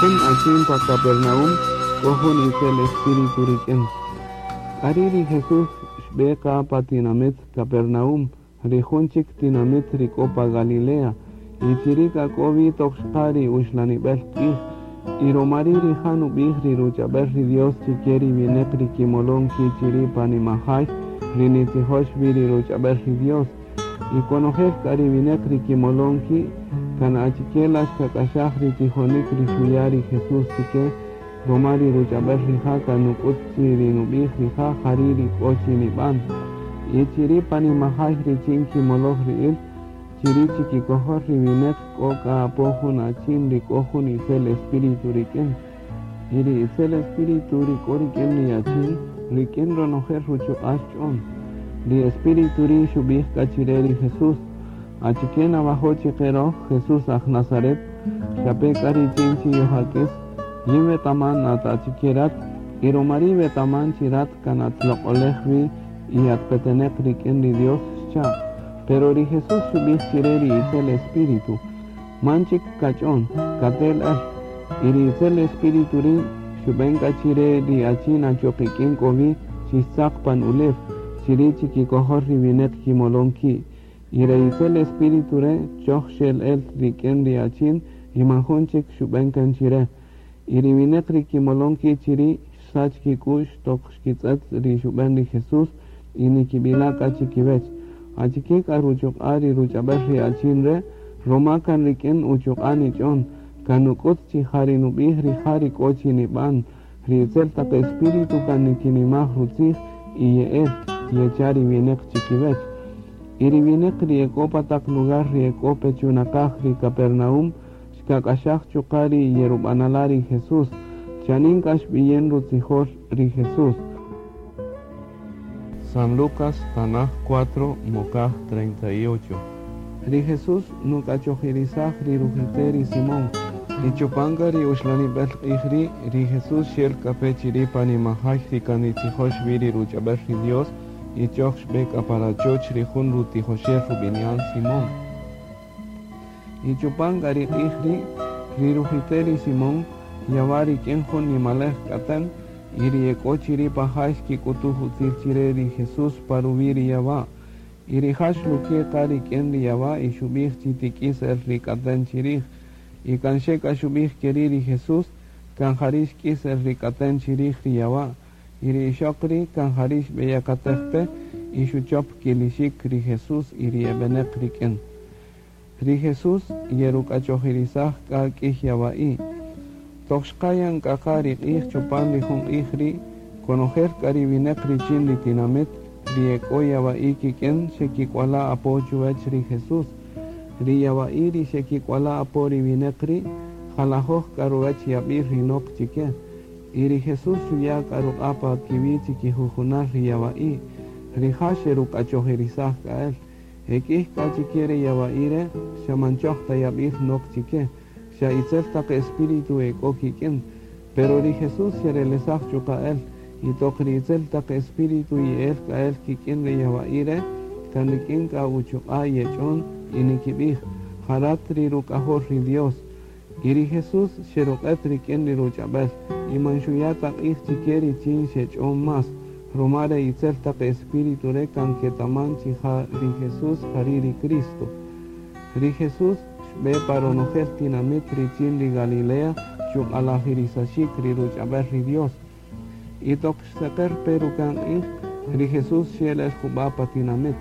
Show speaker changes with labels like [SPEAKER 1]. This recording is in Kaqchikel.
[SPEAKER 1] Jun achin pa Capernaum k'o jun itzel espíritu rik'in. K'ari' ri Jesús xb'e qa pa tinamit Capernaum, ri jun chik tinamit ri k'o pa Galilea, y chiri' k'a k'o wi toq xqa ri uxlanib'el q'ij, y ruma ri' rija' nub'ij ri ruch'ab'äl ri Dios chike ri winäq ri kimolon ki' chiri' pa nimajay ri nitzijox wi ri ruch'ab'äl ri Dios. Y konojel k'a ri winäq ri kimolon ki' kan achike la xkak'axaj ri tijonik ri xuya' ri Jesús chike, ruma ri ruch'ab'äl rija' kan nuk'ut chi ri nub'ij rija' jari' ri k'o chi nib'an. Y chiri' pa nimajay richin kimoloj ri'il, chiri' chikikojol ri winäq k'o k'a apo jun achin ri k'o jun itzel espíritu rik'in. Y ri itzel espíritu ri k'o rik'in ri achin, rik'in ronojel ruchuq'a' xch'on. Ri espíritu ri' xub'ij k'a chire ri Jesús: Achike nawajo' chiqe roj, Jesús aj Nazaret? Xape k'a richin chi yojak'is? Yin wetaman at achike rat, y ruma ri' wetaman chi rat kan at loq'olej wi y at peteneq rik'in ri Dios, xcha'. Pero ri Jesús xub'ij chire ri itzel espíritu: Man chik kach'on, katel äl. Y ri itzel espíritu ri' xub'en k'a chire ri achin achoq ik'in k'o wi chi xtzaq pan ulew, chiri' chikikojol ri winäq kimolon ki'. Y re itzel espíritu re' choj xel el rik'in ri achin y man jun chik xub'en kan chire. Y ri winäq ri kimolon ki' chiri' xsach kik'u'x toq xkitz'ët ri xub'en ri Jesús y nikib'ila' k'a chikiwech: Achike k'a ruchuq'a' ri ruch'ab'äl ri achin re'? Ruma kan rik'in uchuq'a' nich'on, kan nuk'ut chi ja ri nub'ij rija' ri k'o chi nib'an. Ri itzel taq espíritu kan nikinimaj rutzij y ye'el, yecha' ri winäq chikiwech. Y ri winäq ri e k'o pa taq lugar ri e k'o pe chunaqaj ri Capernaum xkak'axaj chuqa' ri yerub'anala' ri Jesús. Chanin k'a xb'iyin rutzijol ri Jesús. San Lucas, Tanaj 4, Mokaj 38. Ri Jesús nuk'achojirisaj ri rujite ri Simón. Y chupan k'a ri uxlanib'el q'ij ri', ri Jesús xel k'a pe chiri' pa nimajay ri kan nitzijox wi ri ruch'ab'äl ri Dios, y choj xb'e k'a pa rachoch ri jun rutijoxel rub'ini'an Simón. Y chupan k'a ri q'ij ri', ri rujite ri Simón yawa' rik'in jun nimalej k'atän, y ri e k'o chiri' pa jay xkik'utuj utzil chire ri Jesús pa ruwi' ri yawa'. Y rija' xluke' qa rik'in ri yawa' y xub'ij chi tik'is el ri k'atän chirij. Y kan xe k'a xub'ij keri' ri Jesús, kan jari' xk'is el ri k'atän chirij ri yawa'. Y ri ixoq ri' kan jari' xb'eyakatej pe y xuchop kilixik ri Jesús y ri e beneq rik'in. Ri Jesús yeruk'achojirisaj k'a k'ïy yawa'i'. Toq xqa yan k'a qa ri q'ij chupan ri jun q'ij ri', konojel k'a ri winäq richin ri tinamit ri e k'o yawa'i' kik'in xekik'wala' apo chuwäch ri Jesús. Ri yawa'i' ri xekik'wala' apo ri winäq ri', jalajöj k'a ruwäch yab'il ri nok chi ke. Y ri Jesús xuya' k'a ruq'a' pa kiwi' chi kijujunal ri yawa'i'. Rija' xeruk'achojirisaj k'a el. E k'ïy k'a chi ke re yawa'i' re' xa man choj ta yab'il nok chi ke, xa itzel taq espíritu e k'o kik'in. Pero ri Jesús xerelesaj chuqa' el, y toq ri itzel taq espíritu ye'el k'a el kik'in re yawa'i' re', kan rik'in k'a uchuq'a' yech'on y nikib'ij, Ja rat ri Ruk'ajol ri Dios. Y ri Jesús xeruq'et rik'in ri ruch'ab'äl, y man xuya' ta q'ij chi ke richin xech'on más, ruma re itzel taq espíritu re' kan ketaman chi ja ri Jesús jari' ri Cristo. Ri Jesús xb'e pa ronojel tinamit richin ri Galilea chuq'alajirisaxik ri ruch'ab'äl ri Dios. Y toq xseqer pe ruka'n q'ij, ri Jesús xel el jub'a' pa tinamit.